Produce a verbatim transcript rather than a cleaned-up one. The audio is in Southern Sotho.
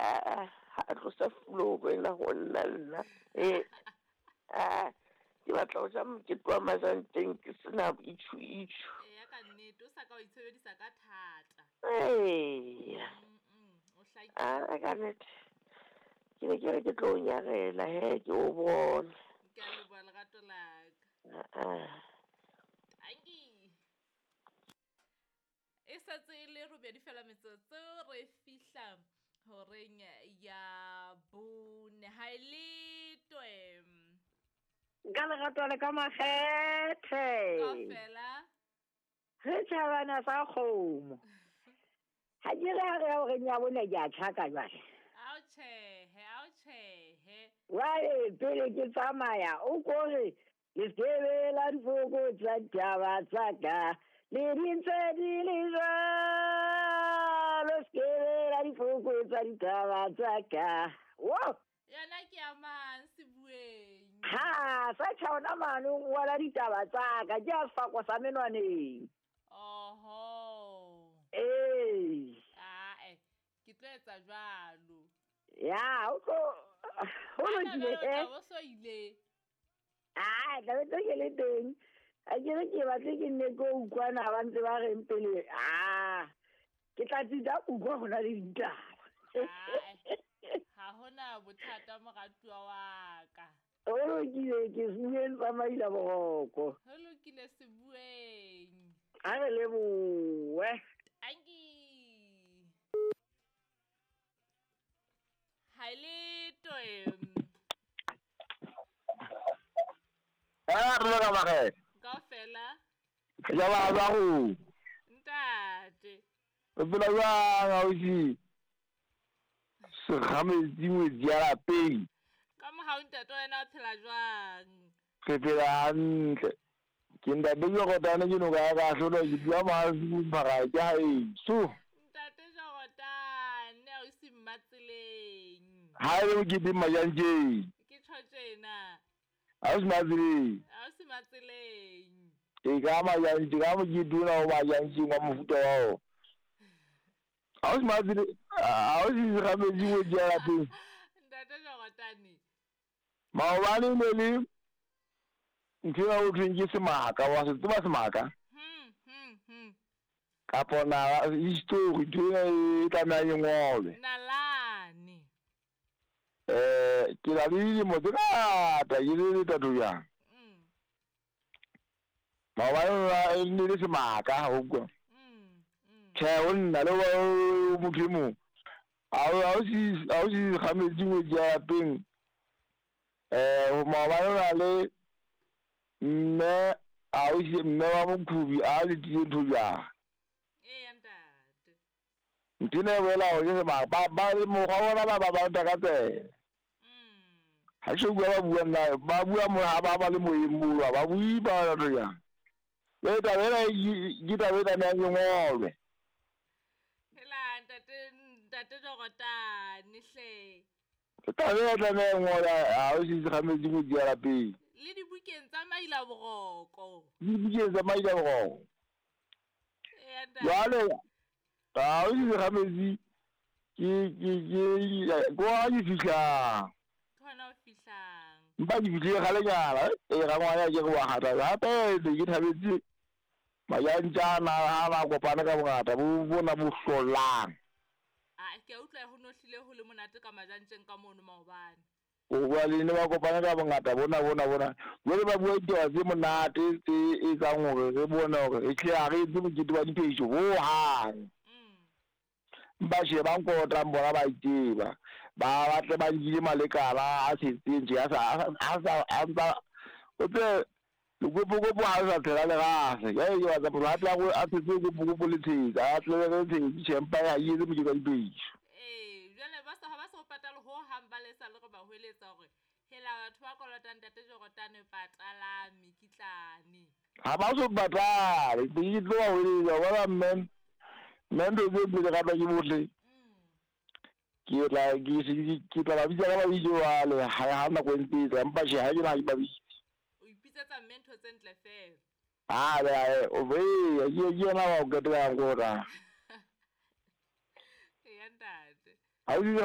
Ha tlosa floor wena ho nna nna. Eh. Ah, ke batla ho ja mokete wa majanteng ke sena itjhu itjhu. Eya ka nnete, o sa ka wa itshebedisa ka thata. Eya. Mm, o hlakile. Ah, ka nnete. Ke ne ke re ke tlo o nyarela he ke o bone. Ke a leboha lerato la ka. Ah. Tanki. E setse e le robedi fela metsotso re fihla horeng ya bone. Ha e letwe. Ka lerato le ka makgethe. Kaofela. Re tjhabana sa kgomo. Ha ke re ha re ya horeng ya bone ke a tjhaka jwale. Ao tjhehe, ao tjhehe. Jwale pele ke tsamaya o ko re le skebe la difoko tsa ditaba tsa ka. Le di ntse di le jwalo, skebe la difoko tsa ditaba tsa ka. Wo! Yona ke ya mang sebueng? Ha, sa tjha ona mane o ngola ditaba tsa ka, ke a sefako sa menwaneng. Oho. Ee. Ae, ke tlo etsa jwalo. Ya, o tlo ho Ana lokile jwale o he. tla bo so ile. Ah, tla be tlo ke le teng. Ha ke re ke batle ke nne ke o utlwana ba ntse ba reng pele. Ah, ke tla tsitsa utlwa ho na le ditaba. Ae, ha hona bothata moratuwa wa ka. Ho lokile ke sebueng sa maila boroko. Ho lokile sebueng. Ha re lebohe. Tanki. Ha e letwe. Ah, re ka makgethe. Kaofela. Ja ba ba go. Ntate. O phela jwang ausi? Segametsi ngwetsi ya lapeng. Ka mohau ntate wena o phela jwang? Re phela hantle. Ke ntate Jorotane ke noka ya ka hlolwa ke dula mahafi mphara ke haeso. Ntate Jorotane ausi Mmatseleng. Ha e le moketeng majantjeng. Ke tjho tjena. Ausi Mmatseleng. Ausi Mmatseleng. E ka majantjeng, ka mokete ona o majantjeng wa mofuta wa ona. Ausi Mmatseleng, ausi Segametsi ngwetsi ya lapeng. Ntate Jorotane. Maobane ne le ntho ena ho thweng ke semaka, wa se tseba semaka? Hmm, hmm, hmm. Kapo na history ntho ena e tlamehang e ngolwe. Nalane. Eh, ke na le dilemo tse ngata ke le letato jwang. Mm. Maobane e ne le semaka ho utlwa. Mm, mm. Tjhe, ho nna le o motho e mong. Ausi ausi Segametsi ngwetsi ya lapeng. Eh, maobane o na le mme ausi mme wa Mokhubi a letile ntho jwang. Eya ntate. Ntho ena e boela hore ke semaka. Ba ba le mokgwa wa bona ba ba ba ka tsela. Mm. Ha ke bua ba bua nna ba bua mo ha ba ba le moyeng moo ba bue ba ntho jwang. Le taba ena ke taba e tlamehang e ngolwe. Hela ntate ntate Jorotane hle. Taba ena e tlameha e ngolwe ausi Segametsi ngwetsi ya lapeng. Le dibukeng tsa maila boroko. Le dibukeng tsa maila boroko. Eya ntate. Jwale ausi Segametsi ke ke ke ko ha ke fihlang. Ke hona o fihlang. Mpa ke fihlile kgalenyana e rangwana ke re wa kgatha hape ne ke thabetse majantjana ha ba kopane ka bongata bo bona bo hlolang. Ah, ke a utlwa ho no hlile ho le monate ka majantjeng ka mono maobane. O bua le ne ba kopane ka bongata bona bona bona. Jwale ba bua ditaba tse monate tse etsang hore re bone hore re hle ha re etse mokete wa diphehiso hohang. Mm. Ba sheba nkotang bona ba itseba. Ba batle ba nkile malekala a setseng tje a sa a sa a ntsa o tse lekopokopo ha o sa tshela lerase. Jwale ke batla motho a tle a tshetse lekopokopo le tshetse, a tle le tshetse tjhe empa ha e etse mokete wa diphehiso. Ee, jwale ba sa ha ba sa o patale ho hang ba lesa le re ba hweletsa hore hela batho ba kolotang ntate Jorotane patala mekitlane. Ha ba so patale, ke tlo ba hweletsa wa bona mme mme ntho tse pele ka ke bohle. Mm. Ke tla ke ke tla ba bitsa ka mabitso jwale ha ha nako e ntse e tla empa tjhe ha ke na ha ke ba bitse. O ipitsetsa mme ntho tse ntle fela. Ah, o be ke ke yena wa o qetela nkota. Eya ntate. Ausi